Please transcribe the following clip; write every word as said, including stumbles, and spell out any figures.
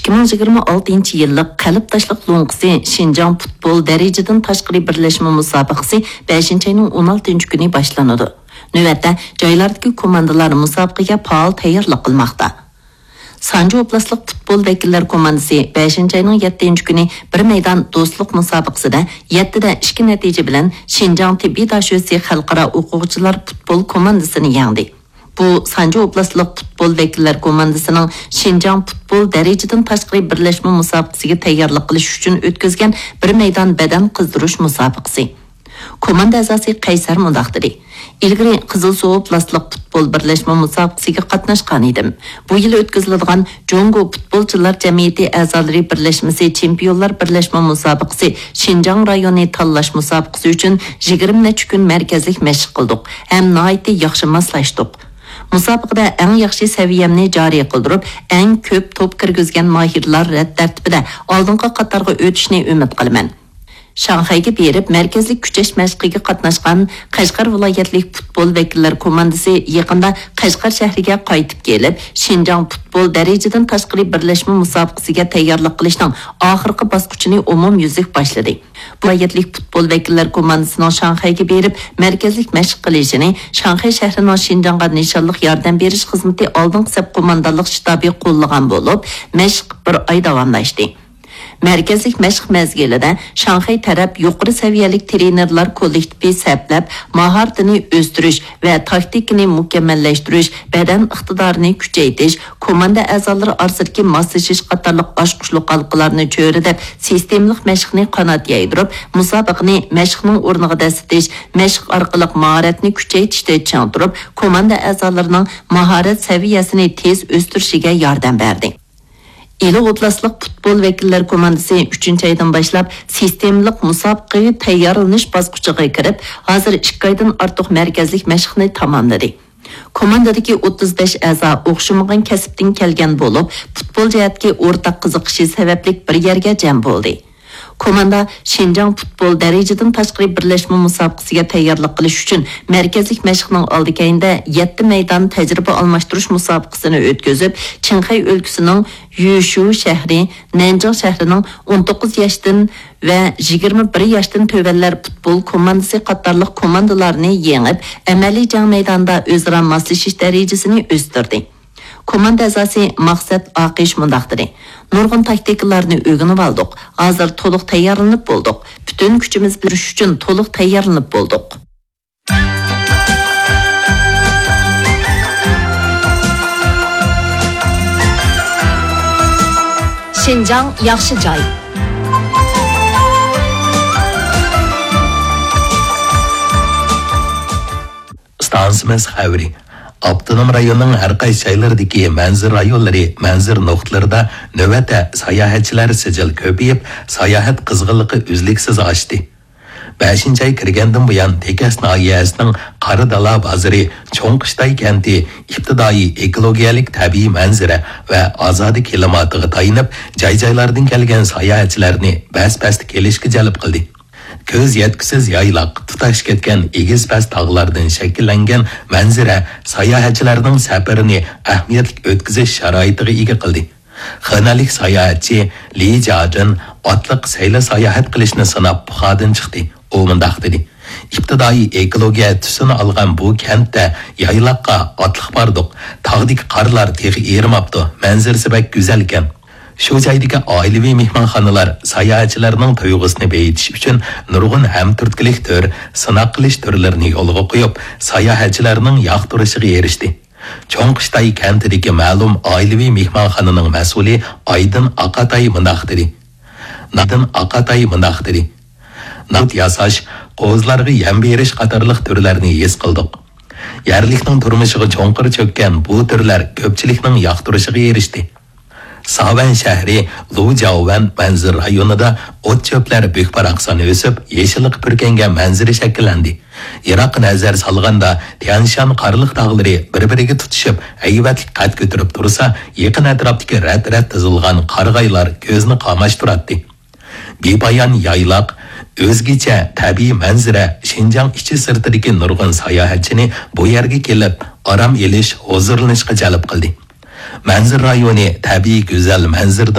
ئىككى مىڭ يىگىرمە ئالتىنچى يىللىق قەلب تاشلىق لوڭقىسى شىنجاڭ پۇتبول دەرىجىدىن تاشقىرى بىرلەشمە مۇسابىقىسى بەشىنچى ئاينىڭ ئون ئالتىنچى كۈنى باشلىنىدۇ. نۆۋەتتە جايلاردىكى كوماندىلار مۇسابىقىگە پائال تەييارلىق قىلماقتا. سانجى ئوبلاستلىق پۇتبول ۋەكىللەر كوماندىسى بەشىنچى ئاينىڭ يەتتىنچى كۈنى بىر مەيدان دوستلۇق مۇسابىقىسىدە يەتتىدە ئىككى نەتىجە بىلەن شىنجاڭ تېببىي داشۆسى خەلقئارا ئوقۇغۇچىلار پۇتبول كوماندىسىنى يەڭدى. بۇ سانجى ئوبلاستلىق پۇتبول ۋەكىللەر كوماندىسىنىڭ شىنجاڭ پۇتبول دەرىجىدىن تاشقىرى بىرلەشمە مۇسابىقىسىگە تەييارلىق قىلىش ئۈچۈن ئۆتكۈزگەن بىر مەيدان بەدەن قىزدۇرۇش مۇسابىقىسى. كوماندا ئەزاسى قەيسەر مۇنداق دېدى: ئىلگىرى قىزىلسۇ ئوبلاستلىق پۇتبول بىرلەشمە مۇسابىقىسىگە قاتناشقان ئىدىم. بۇ يىل ئۆتكۈزۈلىدىغان جۇڭگو پۇتبولچىلار جەمئىيىتى ئەزالىرى بىرلەشمىسى چېمپىيونلار بىرلەشمە مۇسابىقىسى شىنجاڭ رايونى تاللاش مۇسابىقىسى ئۈچۈن يىگىرمە نەچچە كۈن مەركەزلىك مەشىق قىلدۇق ھەم ناھايىتى ياخشى ماسلاشتۇق. مۇسابىقىدە ئەڭ ياخشى سەۋىيەمنى جارى قىلدۇرۇپ، ئەڭ كۆپ توپ كىرگۈزگەن ماھىرلار رەت تەرتىپىدە ئالدىنقى قاتارغا ئۆتۈشنى ئۈمىد قىلىمەن. شاڭخەيگە بېرىپ، مەركەزلىك كۈچەش مەشقىگە قاتناشقان قەشقەر ۋىلايەتلىك پۇتبول ۋەكىللەر كوماندىسى يېقىندا قەشقەر شەھىرىگە قايتىپ كېلىپ، شىنجاڭ پۇتبول دەرىجىدىن تاشقىرى بىرلەشمە مۇسابىقىسىگە تەييارلىق قىلىشنىڭ ئاخىرقى باسقۇچىنى ئومۇميۈزلۈك باشلىدى. ۋىلايەتلىك پۇتبول ۋەكىللەر كوماندىسىنىڭ شاڭخەيگە بېرىپ، مەركەزلىك مەشىق قىلىشىنى شاڭخەي شەھىرىنىڭ شىنجاڭغا نىشانلىق ياردەم بېرىش خىزمىتى ئالدىنقى سەپ قوماندانلىق شتابى قوللىغان بولۇپ، مەشىق بىر ئاي داۋاملاشتى. مەركەزلىك مەشىق مەزگىلىدە شاڭخەي تەرەپ يۇقىرى سەۋىيەلىك تىرېنېرلار كوللېكتىپى سەپلەپ، ماھارىتىنى ئۆستۈرۈش ۋە تاكتىكىنى مۇكەممەللەشتۈرۈش، بەدەن ئىقتىدارىنى كۈچەيتىش، كوماندا ئەزالىرى ئارىسىدىكى ماسلىشىش قاتارلىق ئاچقۇچلۇق ھالقىلارنى چۆرىدەپ، سىستېمىلىق مەشىقنى قانات يايدۇرۇپ، مۇسابىقىنى مەشىقنىڭ ئورنىغا دەسسىتىش، مەشىق ئارقىلىق ماھارەتنى كۈچەيتىشتە چىڭ تۇرۇپ، كوماندا ئەزالىرىنىڭ ماھارەت سەۋىيەسىنى تېز ئۆستۈرۈشىگە ياردەم بەردى. ئىلى ئوبلاستلىق پۇتبول ۋەكىللەر كوماندىسى ئۈچىنچى ئايدىن باشلاپ سىستېمىلىق مۇسابىقىگە تەييارلىنىش باسقۇچىغا كىرىپ، ھازىر ئىككى ئايدىن ئارتۇق مەركەزلىك مەشىقنى تاماملىدى. كوماندىدىكى ئوتتۇز بەش ئەزا ئوخشىمىغان كەسىپتىن كەلگەن بولۇپ، پۇتبول جەھەتتىكى ئورتاق قىزىقىشى سەۋەبلىك بىر يەرگە جەم بولدى. كوماندا شىنجاڭ پۇتبول دەرىجىدىن تاشقىرى بىرلەشمە مۇسابىقىسىگە تەييارلىق قىلىش ئۈچۈن مەركەزلىك مەشىقنىڭ ئالدى كەينىدە يەتتە مەيدان تەجرىبە ئالماشتۇرۇش مۇسابىقىسىنى ئۆتكۈزۈپ، چىڭخەي ئۆلكىسىنىڭ يۈشۇ شەھىرى، نەنجىڭ شەھىرىنىڭ ئون توققۇز ياشتىن ۋە يىگىرمە بىر ياشتىن تۆۋەنلەر پۇتبول كوماندىسى قاتارلىق كوماندىلارنى يېڭىپ، ئەمەلىي جەڭ مەيدانىدا ئۆزئارا ماسلىشىش دەرىجىسىنى ئۆستۈردى. كوماندا ئەزاسى مەقسەت ئاقىش مۇنداق دېدى: نۇرغۇن تاكتىكىلارنى ئۆگىنىۋالدۇق. ھازىر تولۇق تەييارلىنىپ بولدۇق. پۈتۈن كۈچىمىز بىلەن ئۈچۈن تولۇق تەييارلىنىپ بولدۇق. شىنجاڭ ياخشى جاي. ئىستانسىمىز خەۋىرى. ئاپتونوم رايوننىڭ ھەر قايسى جايلىرىدىكى مەنزىرە رايونلىرى، مەنزىرە نۇقتىلىرىدا نۆۋەتتە ساياھەتچىلەر سىجىل كۆپىيىپ، ساياھەت قىزغىنلىقى ئۈزلۈكسىز ئاشتى. بەشىنچى ئاي كىرگەندىن بۇيان، تېكەس ناھىيەسىنىڭ قارا دالا بازىرى، چوڭ قىشتاي كەنتى ئىپتىدائىي ئېكولوگىيەلىك تەبىئىي مەنزىرە ۋە ئازادە كىلىماتىغا تايىنىپ، جاي-جايلاردىن كەلگەن ساياھەتچىلەرنى بەس-بەستە كېلىشكە جەلپ قىلدى. كۆز يەتكۈسىز يايلاق، تۇتاش كەتكەن ئېگىز-پەس تاغلاردىن شەكىللەنگەن مەنزىرە ساياھەتچىلەرنىڭ سەپىرىنى ئەھمىيەتلىك ئۆتكۈزۈش شارائىتىغا ئىگە قىلدى. خېنەنلىك ساياھەتچى لى جادىن ئاتلىق سەيلە ساياھەت قىلىشنى سىناپ پۇخادىن چىقتى. ئۇ مۇنداق دېدى: ئىپتىدائىي ئېكولوگىيە تۈسىنى ئالغان بۇ كەنتتە يايلاققا ئاتلىق باردۇق. تاغدىكى قارلار تېخى ئېرىماپتۇ. مەنزىرىسى بەك گۈزەلكەن. شۇ جايدىكى ئائىلىۋى مېھمانخانىلار ساياھەتچىلەرنىڭ تۇيغۇسىنى بېيىتىش ئۈچۈن نۇرغۇن ھەمتۈرتكىلىك تۈر، سىناق قىلىش تۈرلىرىنى يولغا قويۇپ، ساياھەتچىلەرنىڭ ياقتۇرۇشىغا ئېرىشتى. چوڭ قىشتاي كەنتىدىكى مەلۇم ئائىلىۋى مېھمانخانىنىڭ مەسئۇلى ئايدىن ئاقاتاي مۇنداق دېدى. ئايدىن ئاقاتاي مۇنداق دېدى. ناۋۇت ياساش، قوزىلارغا يەم بېرىش قاتارلىق تۈرلەرنى ھېس قىلدۇق. يەرلىكنىڭ تۇرمۇشىغا چوڭقۇر چۆككەن بۇ تۈرلەر كۆپچىلىكنىڭ ياقتۇرۇشىغا ئېرىشتى. ساۋەن شەھىرى لۇجياۋەن مەنزىرە رايونىدا ئوت-چۆپلەر بۈك-باراقسان ئۆسۈپ، يېشىللىققا پۈركەنگەن مەنزىرە شەكىللەندى. يىراققا نەزەر سالغاندا، تيەنشان قارلىق تاغلىرى بىر-بىرىگە تۇتىشىپ، ھەيۋەتلىك قەد كۆتۈرۈپ تۇرسا، يېقىن ئەتراپتىكى رەت-رەت تىزىلغان قارىغايلار كۆزنى قاماشتۇراتتى. بىپايان يايلاق، ئۆزگىچە تەبىئىي مەنزىرە شىنجاڭ ئىچى-سىرتىدىكى نۇرغۇن ساياھەتچىنى بۇ يەرگە كېلىپ، ئارام ئېلىش، ھۇزۇرلىنىشقا جەلپ قىلدى. مەنزىرە رايونى تەبىئىي گۈزەل مەنزىرىدىن